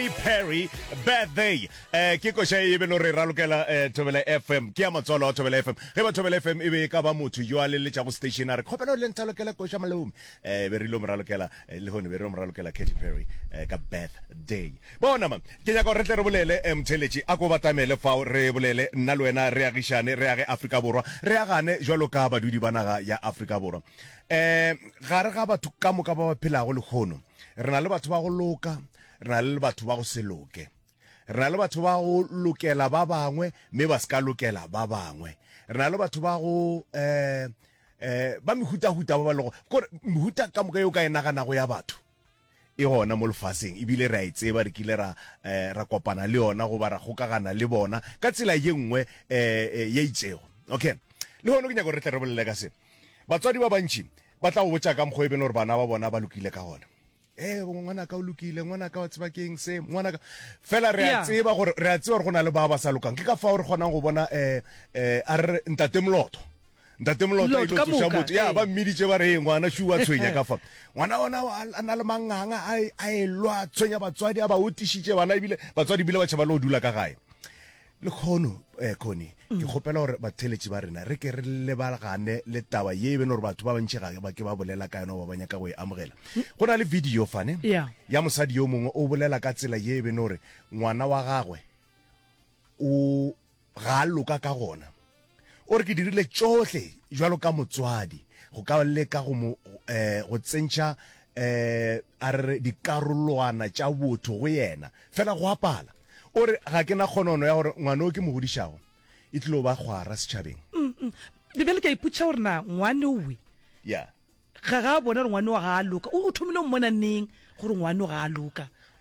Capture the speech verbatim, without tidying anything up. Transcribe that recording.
Katy Perry, Birthday. Eh, ke koša e be no re ralokela eh, Thobela F M, ke ya matswalo a Thobela F M. Ge ba Thobela F M e be e ka ba motho yo a leletšago station a re kgopela le nthalokela koša malome, eh, be re ile mo ralokela eh, lehono be re mo ralokela Katy Perry eh, ka Birthday. Bona ma, ke nyaka gore re tle re bolele, eh, motheletši a ko batamele fao, re bolele nna le wena, re agišane, re age Afrika Borwa, re agane jwalo ka badudi ba naga ya Afrika Borwa. um gare ga batho ka moka ba ba phelago lehono, re na le batho ba go loka, re na le batho ba go se loke, re na le batho ba go lokela ba bangwe mme ba se ka lokela ba bangwe, re na le batho ba go um um ba mehutahuta ba ba lego kore mehuta ka moka yeo ka e naganago ya batho e gona mo lefaseng, ebile re a e tseba, re kile ra um ra kopana le yona goba ra kgokagana le bona ka tsela ye nngwe um ye itšego. Okay, le gone ke nyaka gore re tle re bolele ka se. Batswadi ba bantši ba tla go botša ka mokgwa e bene gore bana ba bona ba lokile ka gona. Ee, ngwanaka o lokile, ngwanaka wa tseba keng se, ngwanaka fela re a Yeah. tseba gore re a tseba gore go na le ba ba sa lokang. Ke ka fao re kgonang go bona um um a re re ntate Moloto, ntate Moloto a Moloto ile ka tsoša moka, motho ya ee. ba mmiditše ba re, "Ee, ngwana šu wa tshwenya ka fa." Ngwana ona a na le manganga, a e- a e lwa, a tshwenya batswadi, a ba otišitše bana, ebile batswadi ebile ba tšhaba le go dula ka gae lekgono. um Connie, ke kgopela gore batheletši ba rena re ke re lebagane le taba ye e bene gore batho ba bantši ga ba ke ba bolela ka yona goba ba nyaka go e amogela. Go na le video fane Yeah. ya mosadi yo mongwe o bolela ka tsela ye e bene gore ngwana wa gagwe o ga a loka ka gona. O re, ke dirile tšohle jwalo ka motswadi go ka leka go mo um go tsentšha um a re re dikarolwana tša botho go yena, fela go apala. O re, ga ke na kgonono ya gore ngwana o ke mo godišago e tlilo ba kgwara setšhabeng. Bjale ke a ipotšiša gore na ngwane owe ya ga ga a bona gore ngwane wa ga a loka, o o thomile o mmona neng gore ngwane o ga a loka?